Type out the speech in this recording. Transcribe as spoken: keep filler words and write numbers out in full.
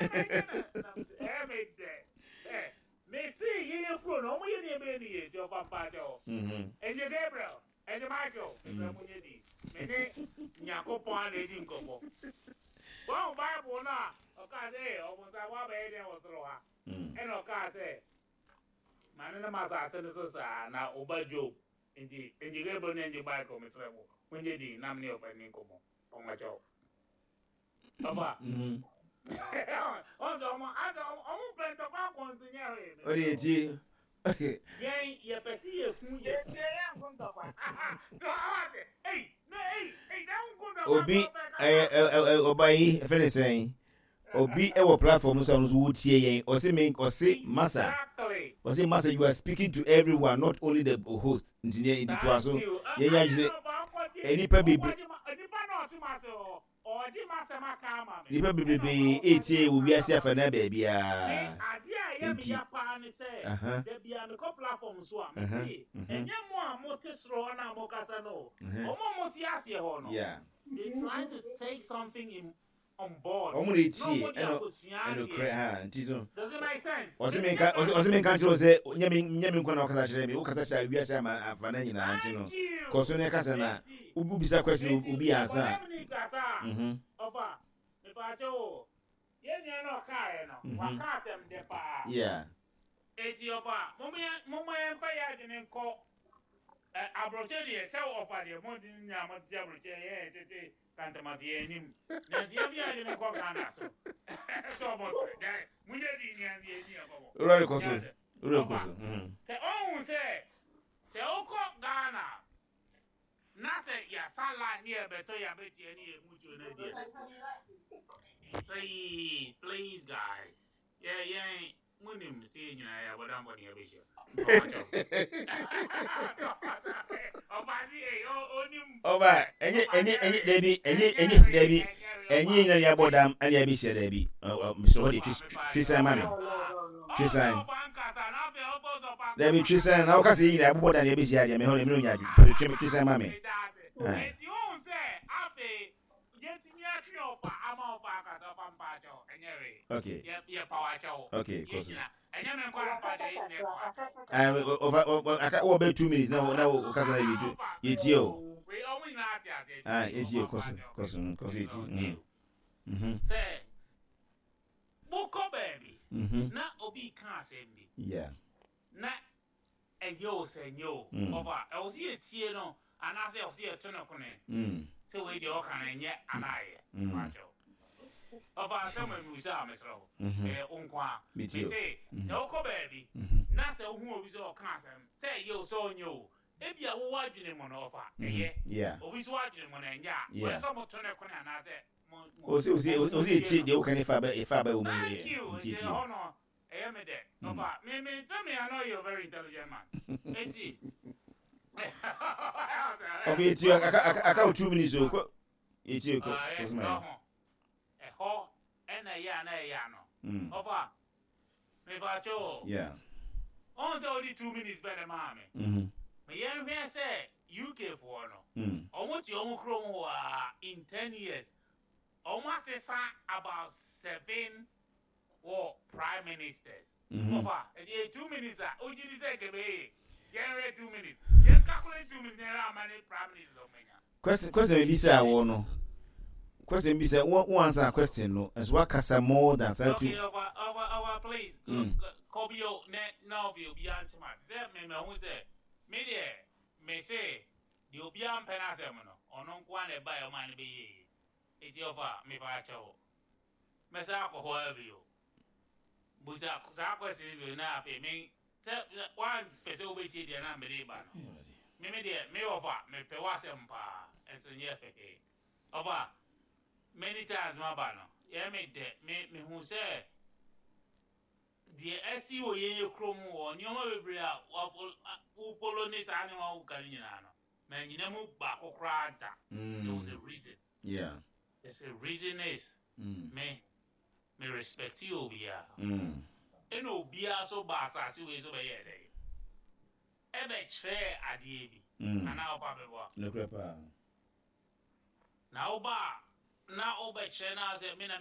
Ɛyɛ me dɛ sɛ mesi yɛyɛ kuro no, ɔmo yɛ nneɛma yɛ ne yɛ nti ɔfa mpakyɛ hɔ. Mhm. Ɛnye Gabriel, ɛnye Michael, mesrɛ mo nyɛ di me ne Nyankopɔn a na ɛdi nkɔmmɔ. Wɔn Bible no a ɔkaa sɛ, "Ee, ɔbonsam, woabɛyɛ deɛ wɔ soro ha?" Mm. Ɛna ɔkaa sɛ, "Ma ne nam asase no so saa na ɔba Job." Nti ɛnye Gabriel ne ɛnye Michael, mesrɛ mo, monyɛ di nam ne ɔfa ni nkɔmmɔ. Ɔmakyɛw ɔfa. Mhm. Ɔsɛ ɔmo asɛ ɔmo ɔmo pɛ ntɔkwa akɔnso nyɛ hwee. Ɔde etie. Yɛn yɛpɛ si yɛku yɛ. Yɛtie, yɛ nko ntɔkwa. Obi ɛyɛ ɛ ɛ ɔba yi ɛfɛ ne sɛn, obi ɛwɔ platform so a ɔno nso wotie yɛn. Ɔsi me, ɔsi masa, ɔsi masa, you are speaking to everyone, not only the host. Nti ne nti toa so, yɛn yɛ agye nipa bebree, nipa bebree etie wɔ wiase afa na baabiara. Adeɛ a ɛyɛ me Nti ya paa ne sɛ aha da bia mekɔ platform so a, aha mese mhm ɛnyɛ mo a mote soro hɔ na mokasa no, mhm ɔmo a mote aseɛ hɔ no, yeah they trying to take something in on board Ɔmo na na etie ɔmo de ɛna akosua ɛnokorɛ adeɛ. Ha nti so Does it make sense? ɔsi mi nka ɔsi ɔsi mi nka kyerɛ o sɛ nyɛ mi nyɛ mi nkɔ na ɔkasa kyerɛ mi, ɔkasa kyerɛ wiase ama afa na nyinaa. Nti no Thank you. kɔ so ne kasa na Enti obi bisa question, enti obi ansa. ɔdɛm ni kasa a mhm ɔfa mepaakyɛ o, yɛn nua no ɔkaeɛ no, mhm waka asɛm dɛ paa. Yeah eti ɔfa, momma yɛmfa yɛ adwene nkɔ ɛ aborɔkyɛ deɛ sɛ ɔfa deɛ mo nya mo te aborɔkyɛ yɛ tete kantamato yɛ anim, nanso yɛmfa yɛ adwene nkɔ Ghana so sɛ ɔbɔ so dɛ monyɛ di nea deɛ ni ɛkɔbɔ. Owura de kɔ so, owura kɔ Ɔfa so mhm sɛ ɔhu sɛ sɛ wokɔ Ghana na sɛ yɛasa line ne yɛbɛtɔ yɛabɛtia ne yɛ mutuo no deɛ, please, please guys, yɛ yɛn munim sɛ yɛ nyinaa yɛ abɔdambɔ ne yɛbɛhyia. Ɔfa onim. Ɔba ɛnyɛ ɛnyɛ ɛnyɛ dɛbi, ɛnyɛ ɛnyɛ dɛbi, ɛnyɛ nyina yɛ abɔ dam ɛna yɛ bɛhyia dɛbi. Ɔ ɔ hɔ de twi twi ma mi twi san dɛbi, twi san na ɔka sɛ yɛ nyina abobɔ dam yɛ bɛhyia deɛ mɛ hɔ de mi nya twi twi san ma mi. Eti ohun sɛ afei yɛtumi atwe ɔfa ama ɔfa akasa. Ɔfa, mpaakyɛw, ɛnyɛ hwee. Okay. yɛ yɛ pa wakyɛw. Okay, kɔ so. Yɛgyina ɛnyɛ me nkɔ mpaakyɛw, yɛ nyina yɛ pa wakyɛw. Ɛɛ ɔfa ɔ aka wɔ bɛ two minutes na na ɔkasa na bi do yɛ tie o. Wei ɔmo nyinaa ate aseɛ. Ah, yɛ tie o. Kɔ so, kɔ so, kɔ so, yɛ tie mhm mhm Sɛ mokɔ baabi mhm na obi ka asɛm bi yeah na ɛyɛ o sɛ ɛnyɛ o, Mm. ɔfa ɛwɔ sɛ yɛtie no anaasɛ ɛwɔ sɛ yɛto no kone mm sɛ wei deɛ ɔka no ɛnyɛ anaa ɛyɛ. Mm. Mpakyɛw, ɔfa asɛm a mewisa a, mesrɛ wo, mhm ɛyɛ wo nko a Metie o. mese Mhm. sɛ wokɔ baabi mhm na sɛ wohu obi sɛ ɔka asɛm sɛ ɛyɛ o sɛ ɔnyɛ o, ebi a wowɔ adwene mu no, ɔfa ɛyɛ, yeah obi so adwene mu no ɛnyɛ a, Yeah. ɔyɛ sɛ moto ne kone anaasɛ mo- mo- osi osi mo- osi mo- etie deɛ woka ne fa bɛ efa bɛ wɔ mu. Thank Yɛ you. nti Nti etie. ɛhɔ no ɛyɛ me dɛ. Mm. Ɔfa me me tell me, I know you're a very intelligent man, eti Ɔfɛ etie, aka aka aka wo two minutes o, kɔ etie, kɔ kɔ so ma yɛ. Ɛhɔ ɛna ɛyɛ a na ɛyɛ ano. Mm. Ɔfa mepakyɛ o, yeah ɔn sɛ wode two minutes bɛ ne maa me. mhm Meyɛnhwɛ sɛ U K foɔ no, mm ɔmo te ɔmo kurom hɔ a, in ten years ɔmo asesa about seven wɔ prime ministers. Mhm ɔfa ɛti yɛ two minutes a ogyi di sɛ kebe yɛnhwɛ two minutes, yɛn calculate two minutes na yɛn ama ne prime minister ɔmo nya. question question bi bisa wɔ no, question bi sɛ wɔn wɔn answer question no nso wakasa more than saa two. Okay, ɔfa ɔfa ɔfa please. Mm. Kɔbi o ne na ɔfi obiara ntoma sɛ mɛmɛ ho sɛ me deɛ me se deɛ obiara mpɛ n'asɛm no, ɔno nko ara na ɛba yɛ ɔmo a ne bɛ yie yie. Eti ɔfa mepa akyɛw, mɛsɛ akɔ hɔ abi o, busa saa question bi na afei me sɛ wan pɛ sɛ wobɛtie deɛ na mede ba no. Me me deɛ me ɔfa mepɛ w'asɛm paa, ɛnso nyɛ hehe. Ɔfa many times ma ba no yɛ me dɛ, me mehu sɛ deɛ ɛsi wɔ yɛn yɛ kurom wɔ nneɛma bebree a wofolo ne saa nneɛma woka no nyinaa no, ma nyina mu baako koraa da. There was a Mm. reason. yeah There's a reason is mm. me me respect obiara Mm. ɛna obiara so ba asase wei so bɛyɛ dɛ ɛbɛkyerɛ adeɛ bi Mm. anaa ɔba bɛboa. Nokorɛ paa. Na woba a na wobɛkyerɛ na sɛ me na